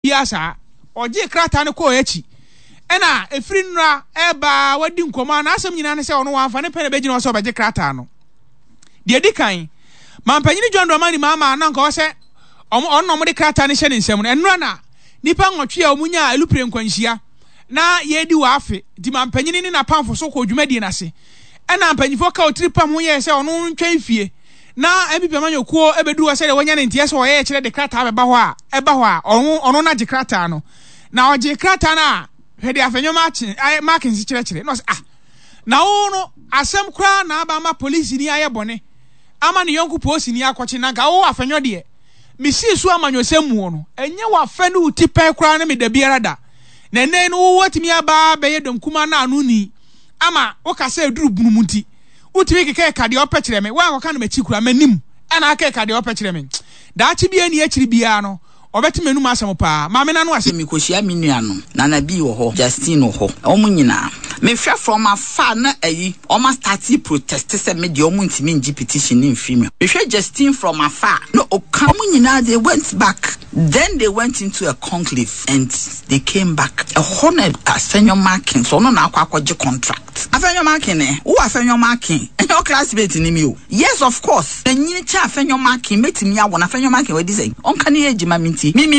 Biara saa. Ɔgyee krataa no kɔɔ akyi. Ɛna ɛfiri nnora ɛreba a wadi nkɔmmɔ a n'asɛm nyinaa ne sɛ ɔno wamfa ne pɛ na ɛbɛgyina hɔ sɛ ɔbɛgye krataa no. Deɛ ɛdi kan, Mampanyini John Dramani Mahama a na anka ɔwɔ sɛ ɔno na wɔde krataa no hyɛ ne nsam no, ɛnnora na nnipa nwɔtwe a wɔnyaa alupre nkwanhyia na yɛredi wɔ afe nti mampanyini ne n'apamfo so kɔɔ dwumadie no ase. Ɛna mpanyinfoɔ ka otiri pam ho yɛɛ sɛ ɔno ntwɛn fie na NPP amanyɔkuo bɛduru hɔ sɛdeɛ wanya ne nteɛ sɛ ɔyɛ kyerɛ de krataa bɛba hɔ a ɛba hɔ a ɔno ɔno na gye krataa no na ɔgye krataa no a hwɛ deɛ afɛnwoma akye Markins kyerɛkyerɛ na ɔsɛ ah na wo no asɛm koraa na aba ama polisini ayɛ bɔne ama ne yɔnko polisini akɔkye na nka wo afɛnwɔ deɛ mesii so amanyɔsɛm muo no ɛnyɛ wafɛ ne wo ti pɛn koraa ne me da biara da na ɛnɛ no wo watumi aba bɛyɛ dɔm kuma na ano ni ama woka sɛ ɛduru bunu mu nti wotumi keka ɛka deɛ ɔpɛ kyerɛ me woankɔka no m'akyi koraa m'anim ɛna aka ɛka deɛ ɔpɛ kyerɛ me daakye biara ni akyiri biara no ɔbɛte m'anum asɛm paa maame n'ano ase. Mekɔhyia me nuanom, Nana B wɔ hɔ, Justine wɔ hɔ, wɔn nyinaa. Mehwɛ from afar na ayi, wɔn astarte protest sɛ me deɛ wɔn ntumi ngye petition no mfiri me hɔ. Mehwɛ Justine from afar na ɔka. Wɔn nyinaa they went back, then they went into a conclave and they came back. Ɛhɔ na Afenyo Markins, ɔno na akɔ akɔgye contract. Afenyo Markin eh, wo Afenyo Markin, ɛnyɛ wo classmate ni mi o. Yes of course, manyini kyɛn Afenyo Markin, mɛtumi awo no, Afenyo Markin wadi sɛn? Ɔnka ne age ma mentie. Me me.